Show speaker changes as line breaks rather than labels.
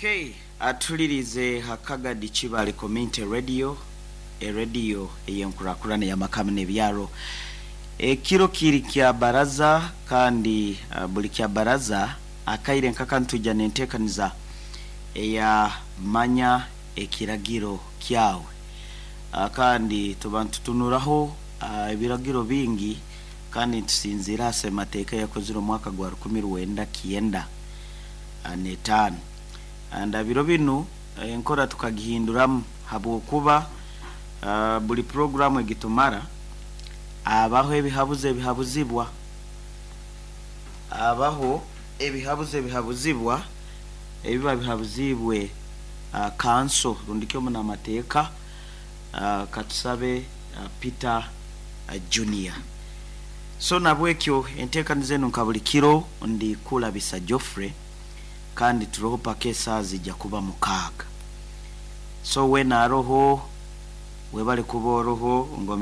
Okay, atulirize Hakagadi Kibale Community Radio, erediyo ey'enkurakurana ey'amaka n'ebyaro. Ekiro kiri kya baraza kandi buli kya baraza akaire nkaka nitwija n'enteekaniza eya Manya Ekiragiro Kyawe. Kandi tuba nitutunuraho ebiragiro bingi kandi nitusinziira ha Ssemateeka eyakozire omwaka gwa 1995. And biro binu enkora tukagihinduramu habwokuba buli puroguramu egitumara abaho ebihabuzo ebihabuzibwa, abaho ebihabuzo ebihabuzibwa ebiba bihabuziibwe kanso rundi ki omunamateeka katusabe Peter Junior. So nabwekyo enteekaniza enu nka buli kiro ndi Kulabisa Geoffrey kandi turoho paka esaaha zija kuba 6. So weena aroho webale kuba oroho ngomere.